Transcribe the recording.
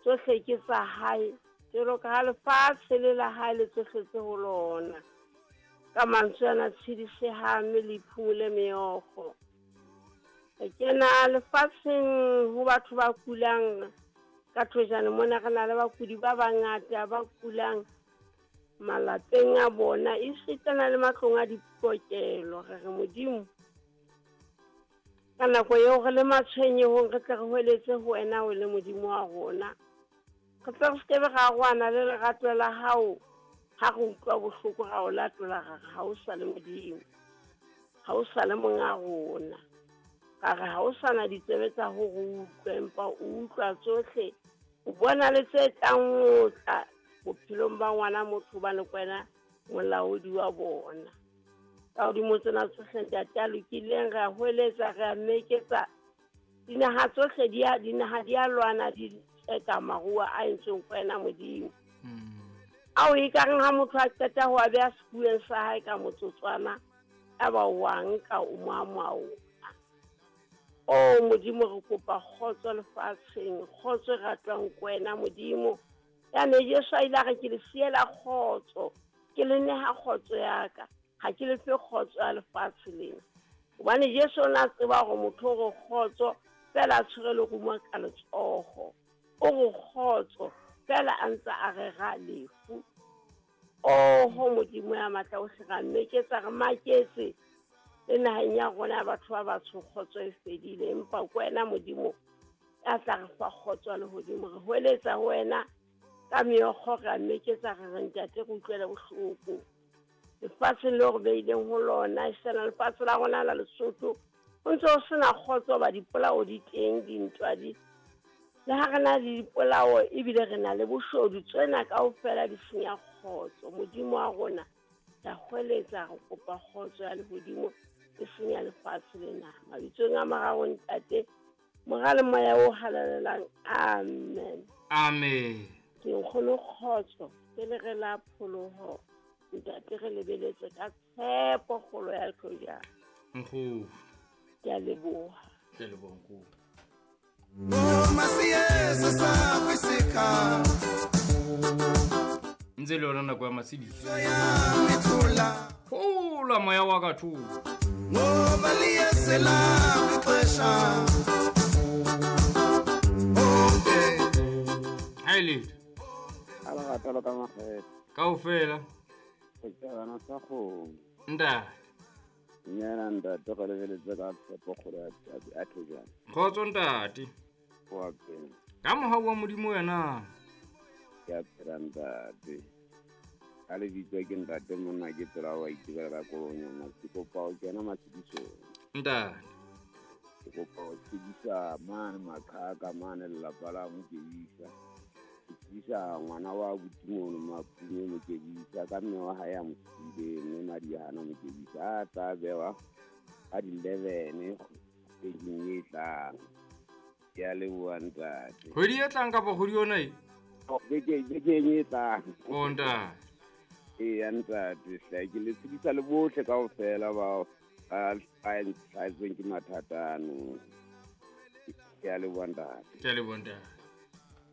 Tsohle ke tsa hae, jwalo ka ha lefatshe le la hae le tsohle tse ho lona. Ka mantswe ana tshedisehang mme le iphumule meokgo. Re kena lefatsheng ho batho ba kulang ka thojane mona re na le bakudi ba bangata ba kulang malapeng a bona esitana le matlong a dipokelo. Re re Modimo, ka nako eo re le matshwenyehong re tle re hweletse ho wena o le Modimo wa rona. Re tle re sekebe ra arohana le lerato la hao. Ha re utlwa bohloko ra o latola ra re ha o sa le Modimo, ha o sa le monga rona. Ra re ha o sa na ditsebe tsa ho re utlwa, empa o utlwa tsohle, o bona le tse tlang ho tla bophelong ba ngwana motho, hobane ke wena molaodi wa bona. Ka hodimo tsena tsohle Ntate a lokileng, re a hweletsa, re a meketsa. Dinaha tsohle di a, dinaha di a lwana, di tseka maruo a entsweng ke wena Modimo. Ao e ka reng ha motho a qeta ho a beha sefuweng sa hae ka motsotswana, ya ba o a nka o mo amoha ona. O Modimo, re kopa kgotso lefatsheng, kgotso e ratwang ke wena Modimo. Ya ne Jesu a ile a re ke le siela kgotso, ke le neha kgotso ya ka, ha ke le fe kgotso ya lefatshe lena. Hobane Jesu o ne a tseba hore motho o re kgotso fela a tshwere lerumo ka letsoho, o re kgotso fela a ntse a rera lefu. Oho Modimo ya matla ohle, ra mmeketsa, re maketse le naheng ya rona ya batho ba batsho kgotso e fedile, empa ke wena Modimo ya tla re fa kgotso ya lehodimo. Re hweletsa ho wena ka meokgo, re a mmeketsa, re re Ntate re utlwele bohloko lefatsheng leo re beileng ho lona, esena lefatshe la rona la Lesotho ho ntse ho sena kgotso, ba dipolao di teng, dintwa di le ha re na le dipolao ebile re na le boshodu, tsena kaofela di senya kgotso. Modimo wa rona, ra hweletsa, re kopa kgotso ya lehodimo e senya lefatshe lena. Mabitsong a mararo Ntate, Mora le Moya o Halalelang, amen. Amen. Ke nkgono kgotso pele re la pholoho Ntate, re lebeletse ka tshepo kgolo ya tlojana. Nkgono. Ke a leboha. Ke a leboha nkgono. Ntse le yona nako ya matshediso. Thola moya wa ka thola. Ngoba liyesela ixesha. Ha e letho. Ha le rata lo ka makgethe. Kaofela. Re tsebana sa kgomo. Ntate. Nyana ntate, re lebeletse ka tshepo kgolo ya thejana. Kgotso ntate. Wa phela. Ka mohau wa Modimo wena. Ke a phela ntate. Ka lebitso ke ntate monna ke tsela wa itebela ka kolonyana. Ke kopa ho kena matshedisong. Ntate. Ke kopa ho tshedisa mane Maqhaka mane lelapa la Mokebisa. Ke tshedisa ngwana wa abuti mono Mapume Mokebisa ka mme wa hae a mo siile mme Madiana Mokebisa a tla bewa ka di-11 kgweding e tlang. Ke a leboha ntate. Kgwedi e tlang kapa kgwedi yona e? Oh, bekeng e tlang. Oh, ntate. Eya ntate, hle ke le tshedisa le bohle kaofela ba ba hlahetsweng ke mathata ano. Ke a leboha ntate. Ke a leboha ntate.